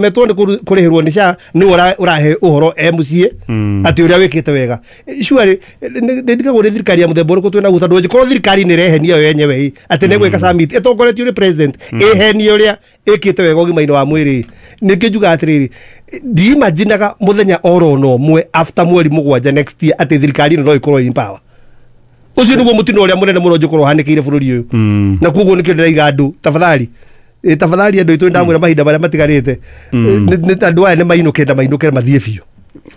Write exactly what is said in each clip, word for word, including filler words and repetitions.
Ũremetwo nĩ kũru- kũrĩhĩrwo nĩ S H A, nĩwe ũrahe ũhoro e mũciĩ atĩ ũrĩa wĩkĩte wega. Surely nĩ ndigagwo nĩ thirikari ya mũthemba ũrĩkũ twĩnaguo, tondũ angĩkorwo thirikari nĩ ĩrehenia yo yenyewe ĩ, atĩ nĩ gwĩka summit ĩtongoretio nĩ president ĩhenie ũrĩa ĩkĩte wega ũgima-inĩ wa mwĩrĩ, nĩkĩo njugaga atĩrĩrĩ, ndiimaginaga mũthenya oro na ũmwe after mweri mũgwanja next year atĩ thirikari ĩno no ĩkorwo in power. Ũcio nĩguo mũtino ũrĩa mũnene mũno njũkorwo ũhanĩkĩire bũrũri ũyũ, na koguo nĩkĩo ndĩraiga andũ, tafadhali, ĩ, tafadhali andũ aitũ, ndamwĩra mahinda marĩa matigarĩte nĩ nĩ andũ aya nĩ mainũke na mainũke mathiĩ biũ.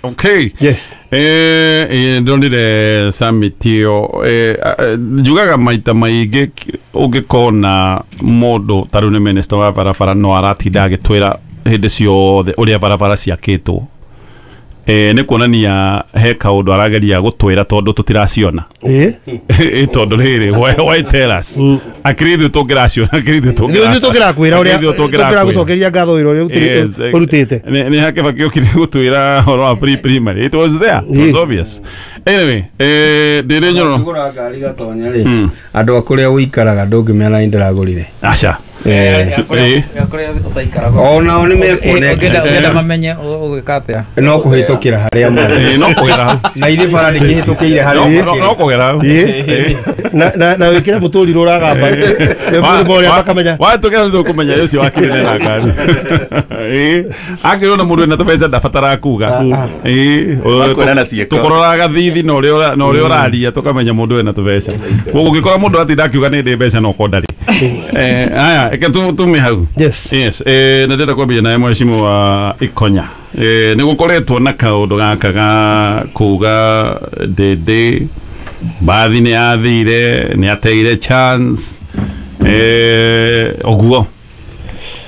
Okay. Yes. Eh, eh, ndonire summit ĩyo, eh, eh, njugaga maita maingĩ ũngĩkona mũndũ ta rĩu nĩ minister wa barabara, no aratinda agĩtwĩra hĩndĩ ciothe ũrĩa barabara ciakĩtwo, eh, nĩ kuonania he kaũndũ arageria gũtwĩra tondũ tũtiraciona. Ĩ. Ĩ, tondũ rĩrĩ, why, why tell us akĩrĩ ithuĩ tũngĩraciona, akĩrĩ ithuĩ ithuĩ tũngĩrakwĩra ũrĩa akĩrĩ ithuĩ tũngĩrakwĩra. Tũngĩragũcokeria ngatho wĩra ũrĩa Yes, ũrutĩte- ũrutĩte. nĩ nĩ hake bakĩũkire gũtwĩra ũhoro wa pre primary. It was there, it was Yeah. obvious. Anyway, eh ndĩrĩ nyoro. Kũgũra ngari, Gatonya rĩ, andũ a kũrĩa ũikaraga ndũngĩmera nĩ ndĩragũrire. Aca. Eh, Eh. Onao nĩ mekuoneka. Ũngĩenda mamenye ũgĩka atĩa? No kũhĩtũkĩra harĩa marĩ. Eh, no kũgera hau. Na ithuĩ bara ndĩkĩhĩtũkĩire harĩa. No- no- no kũgera hau. Ĩ. na na na wĩkĩre mũtũrirũ ũragamba ũrĩa makamenya. Watũkĩra nĩ tũkũmenya ũcio wakĩrĩ na ngari. Ĩ, akĩrwo na mũndũ wĩna tũbeca ndabataraga kuga. Ĩ, Makuona na ciĩko. Tũkũroraga thithi na ũrĩa ũra- na ũrĩa ũraria tũkamenya mũndũ wĩna tũbeca. Koguo ũngĩkora mũndũ atinda akiuga nĩ ndĩ mbeca, no korwo ndarĩ. Eh, haya, reke tu- tume hau. Yes. Yes, eh, na ndĩrenda kwambia nawe, mheshimiwa Ikonya. Eh, nĩ gũkoretwo na kaũndũ gaka ga kuga Ndĩndĩ mbathi nĩ yathire, nĩ ateire chance, eh, ũguo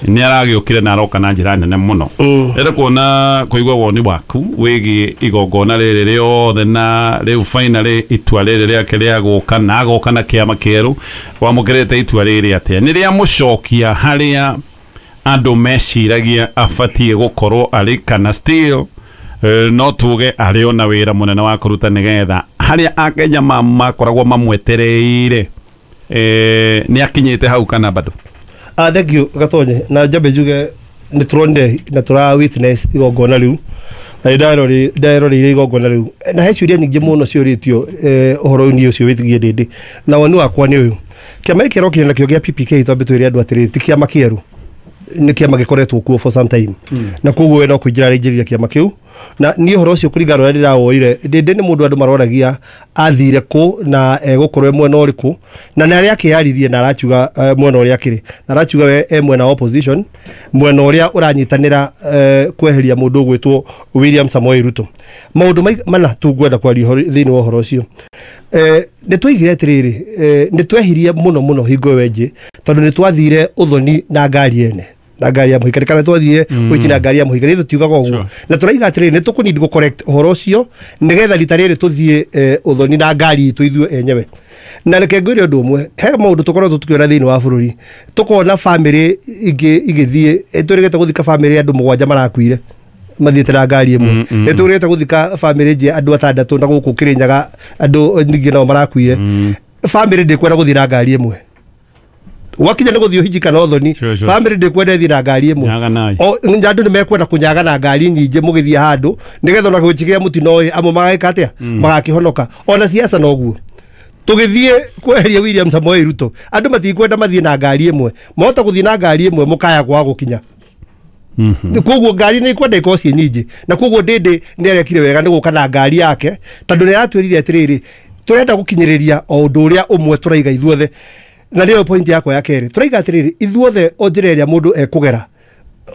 nĩ aragĩũkire na aroka na njĩra nene mũno. Ndĩrenda kuona kũigua woni waku wĩgiĩ igongona rĩrĩ rĩothe, na rĩu finally itua rĩrĩ rĩake rĩa gũka na agoka na kĩama kĩerũ. Wamũkĩrĩte itua rĩrĩ atĩa? Nĩ rĩamũcokia harĩa andũ meciragia abatiĩ gũkorwo arĩ, kana still eh, no tuge arĩ ona wĩra mũnene wa kũruta nĩgetha harĩa Akenya ma- makoragwo mamwetereire, eh, nĩ akinyĩte hau kana bado? Ah, thank you, Gatonye. Na njambe njuge nĩ tũronire na tũra witness igongona rĩu, na nĩ ndarori- ndaroreire igongona rĩu, na he ciũria nyingĩ mũno ciũrĩtio eh, ũhoro-inĩ ũcio wĩgiĩ Ndĩndĩ. Na woni wakwa nĩ ũyũ: kĩama gĩkĩ kĩrokire nakĩo gĩa P P K, twambe twĩre andũ atĩrĩrĩ, ti kĩama kĩerũ, nĩ kĩama gĩkoretwo kuo for some time, na koguo we no kũingĩra araingĩrire kĩama kĩu. Na niĩ ũhoro ũcio, kũringana na ũrĩa ndĩrawoire, Ndĩndĩ nĩ mũndũ andũ maroragia athire kũ na egũkorwo e mwena ũrĩkũ, na nĩ arĩa akĩyaririe na arakiuga eh, mwena ũrĩa akĩrĩ, na arakiuga we e mwena wa opposition, mwena ũrĩa ũranyitanĩra eh, kweheria mũndũ ũgwĩtwo William Samoei Ruto. Maũndũ mai- mana tu ngwenda kwaria ũhoro- thĩinĩ wa ũhoro ũcio. eh, nĩ twaigire atĩrĩrĩ, eh, nĩ twehirie mũno mũno hingo ĩyo ĩngĩ, tondũ nĩ twathire ũthoni na ngari ene na ngari ya mũhikani, kana twathire ũhiki na ngari ya mũhikani, ithuĩ tiugaga ũguo. Sure. Na tũraiga atĩrĩrĩ, nĩ tũkũnindi gũ correct ũhoro ũcio nĩgetha rita rĩrĩ tũthiĩ eh, ũthoni na ngari itũ ithuĩ enyewe. Na reke ngwĩre ũndũ ũmwe, he maũndũ tũkoretwo tũkĩona thĩinĩ wa bũrũri, tũkona bamĩrĩ ingĩ igĩthiĩ, eh, twĩrĩgĩte gũthika bamĩrĩ andũ mũgwanja marakuire mathiĩte na ngari ĩmwe, nĩ tũrĩgĩte gũthika bamĩrĩ ĩngĩ andũ atandatũ, na gũkũ Kĩrĩnyaga andũ ningĩ nao marakuire. Bamĩrĩ ndĩkwenda gũthiĩ na ngari ĩmwe gwakinya nĩ gũthiĩ ũhiki kana ũthoni. Sure, sure. Bamĩrĩ ndĩkwenda ĩthiĩ na ngari ĩmwe. Nyaganai. O andũ nĩ mekwenda kũnyaga na ngari nyingĩ mũgĩthiĩ handũ, nĩgetha ona gũchigĩa mũtino ĩ, amwe magagĩka atĩa, magakĩhonoka. Ona siasa noguo, tũgĩthiĩ kweheria William Samoei Ruto, andũ matikwenda mathiĩ na ngari ĩmwe. Mahota gũthiĩ na ngari ĩmwe mũkaya kwaga gũkinya. Koguo ngari nĩ ikwenda ikorwo ciĩ nyingĩ, na koguo Ndĩndĩ nĩ arekire wega nĩ gũka na ngari yake, tondũ nĩ aratwĩrire atĩrĩrĩ, tũrenda gũkinyĩrĩria o ũndũ ũrĩa ũmwe tũraiga ithuothe. Na nĩyo point yakwa ya kerĩ, tũraiga atĩrĩrĩ, ithuothe o njĩra ĩrĩa mũndũ ekũgera,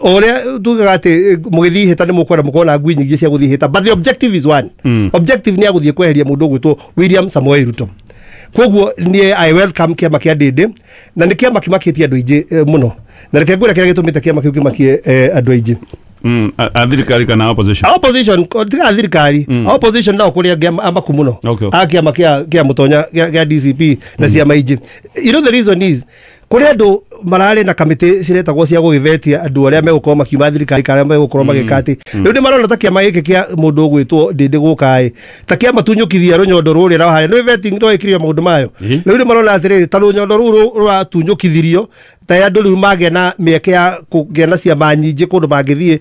o ũrĩa tugaga atĩ eh, mũgĩthiĩ ihĩta nĩ mũkwenda mũkorwo na ngui nyingĩ cia gũthiĩ ihĩta, but the objective is one. Objective nĩ ya gũthiĩ kweheria mũndũ ũgwĩtwo William Samoei Ruto. Koguo niĩ I welcome kĩama kĩa Ndĩndĩ, na nĩ kĩama kĩmakĩtie andũ aingĩ eh, mũno. Na reke ngwĩre kĩrĩa gĩtũmĩte kĩama kĩu kĩmakie eh, andũ aingĩ. Mm, a a thirikari kana opposition? Opposition, ko- tiga thirikari, opposition nao kũrĩ angĩ ama- amaku mũno Okay. a kĩama kĩa kĩa mũtonya kĩa kĩa D C P na ciama ingĩ. You know the reason is Kũrĩ andũ mararĩ na kamĩtĩ ciretagwo cia gũgĩvetia andũ arĩa megũkorwo makiuma thirikari kana arĩa megũkorwo magĩka atĩ rĩu nĩ marona ta kĩama gĩkĩ kĩa mũndũ ũgwĩtwo Ndĩndĩ gũka ĩ ta kĩama tunyũkithia rũnyondo rũrĩa rwa harĩa nĩ vetting no ĩkirio maũndũ mayo. Ĩ. Rĩu nĩ marona atĩrĩrĩ, ta rũnyondo rũu rũ- rũratunyũkithirio, ta andũ rĩu magĩa na mĩeke ya kũgĩa na ciama nyingĩ kũndũ mangĩthiĩ.